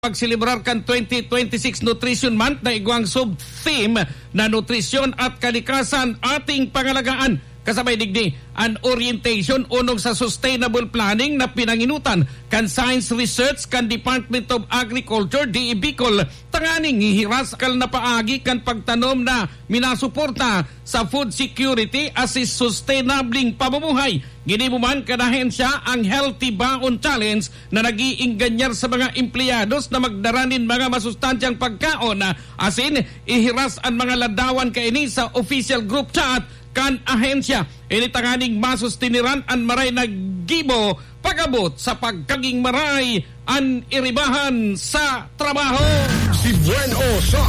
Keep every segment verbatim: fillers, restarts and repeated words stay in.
pagselebrar kan twenty twenty-six Nutrition Month na igwang sub-theme na Nutrisyon at Kalikasan, Ating Pangalagaan. Kasabay digdi, an orientation unong sa sustainable planning na pinanginutan kan Science Research kan Department of Agriculture, D E Bicol, tanganing hihiras kal na paagi kan pagtanom na minasuporta sa food security asin sustainabling pamumuhay. Ginibo man kan ahensya ang Healthy Baon Challenge na nag-iingganyar sa mga empleyados na magdara nin mga masustansyang pagkaon, asin ihiras an mga ladawan kaini sa official group chat kan ahensya. Ini tanganing masustiniran an maray na gibo pag-abot sa pagkaging maray an iribahan sa trabaho. Si Buen O sa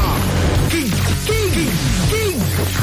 King, King, King.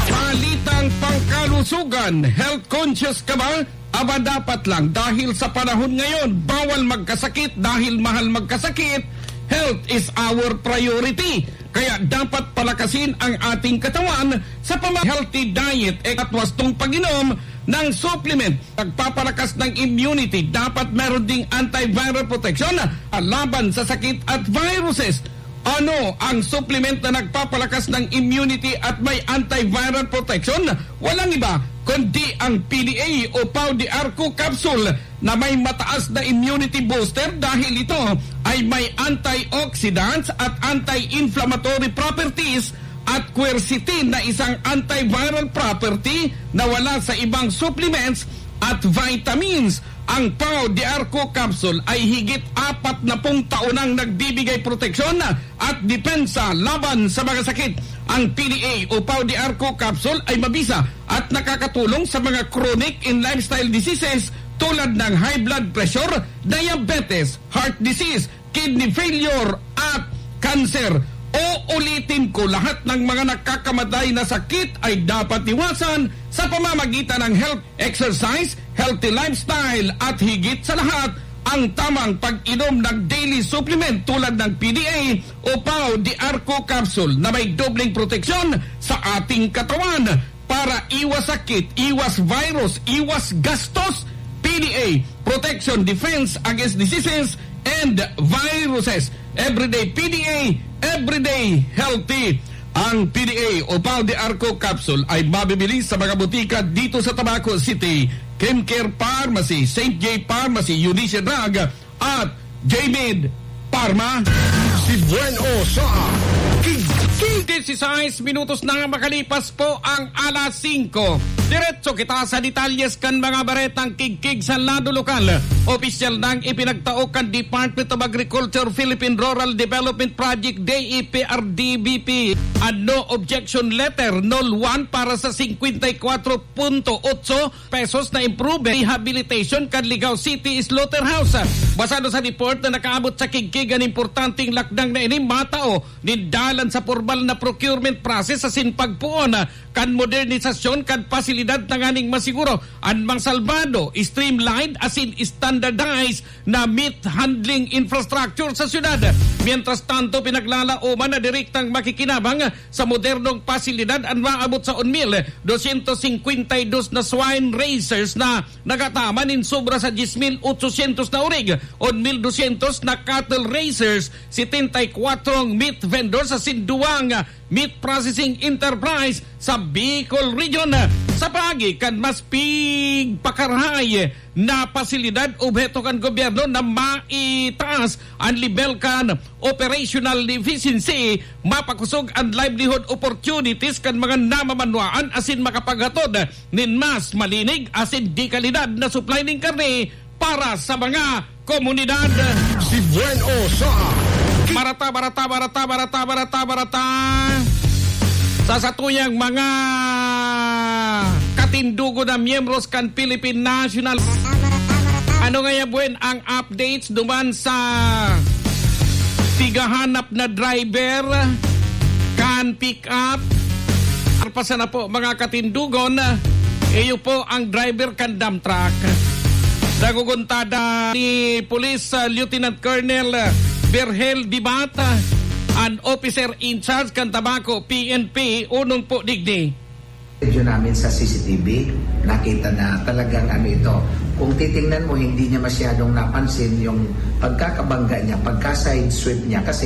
Balitang pangkalusugan, health conscious ka ba? Aba, dapat lang, dahil sa panahon ngayon, bawal magkasakit dahil mahal magkasakit. Health is our priority. Kaya dapat palakasin ang ating katawan sa pama-, healthy diet at wastong pag-inom ng supplement. Nagpapalakas ng immunity. Dapat meron ding antiviral protection laban sa sakit at viruses. Ano ang supplement na nagpapalakas ng immunity at may antiviral protection? Walang iba kundi ang P D A o Pau de Arco capsule na may mataas na immunity booster dahil ito ay may antioxidants at anti-inflammatory properties at quercetin na isang antiviral property na wala sa ibang supplements at vitamins. Ang Pau de Arco capsule ay higit apat na pung taon nang nagbibigay proteksyon at depensa laban sa mga sakit. Ang P D A o Pau de Arco capsule ay mabisa at nakakatulong sa mga chronic and lifestyle diseases tulad ng high blood pressure, diabetes, heart disease, kidney failure, at cancer. Uulitin ko, lahat ng mga nakakamatay na sakit ay dapat iwasan sa pamamagitan ng health, exercise, healthy lifestyle, at higit sa lahat, ang tamang pag-inom ng daily supplement tulad ng P D A o Pau de Arco capsule na may dobleng proteksyon sa ating katawan. Para iwas sakit, iwas virus, iwas gastos, P D A, protection, defense against diseases and viruses. Everyday P D A, everyday healthy. Ang P D A o Pau de Arco capsule ay mabibili sa mga botika dito sa Tabaco City, Kimcare Pharmacy, Saint J Pharmacy, Eunice Drug, at J-Med Pharma. Si Buen O sa King, King. Dieciséis minutos na makalipas po ang alas singko. Diretso kita sa detalyes kan mga baretang kigkig sa lado lokal. Opisyal nang ipinagtao kan Department of Agriculture, Philippine Rural Development Project, D E P R D B P, an no objection letter, nol one, para sa singkwenta y kwatro punto otso pesos na improvement, rehabilitation kan Ligao City Slaughterhouse. Basado sa report na nakaabot sa kigkig, an importanteng lakdang na ini matao nin dalan sa pormal na procurement process asin pagpoon kan modernisasyon kan pasilidad tanganing masiguro an masalbado, streamlined asin standardized na meat handling infrastructure sa syudad. Mientras tanto, pinaglalaoman na direktang makikinabang sa modernong pasilidad an maabot sa un mil dosyentos singkwenta y dos na swine raisers na nagataman nin sobra sa dyes mil otsosyentos na orig, un mil dosyentos na cattle raisers, setenta y kwatro meat vendors asin duwang meat processing enterprise sa Bicol Region. Sa paagi kan mas pigpakarahay na pasilidad, obheto kan gobyerno na maitaas an lebel kan operational efficiency, mapakosog an livelihood opportunities kan mga namamanwaan asin makapaghatod nin mas malinig asin de kalidad na supply nin karne para sa mga komunidad. Si Buen O sa Barata, barata, barata, barata, barata, barata. Sa satuyang mga katindugo na miyembros kan Philippine National. Ano ngaya, Buen, ang updates duman sa pighahanap na driver kan pick-up? Arpasan na po, mga katindugon. Iyo po ang driver kan dump truck. Naguguntada ni Police, ah, Lieutenant Colonel, ah, Virgel Dibata, an officer in charge kan Tabaco P N P, unong po digdi. Video namin sa C C T V, nakita na talagang ano ito. Kung titingnan mo, hindi niya masyadong napansin yung pagkakabangga niya, pagka-side sweep niya, kasi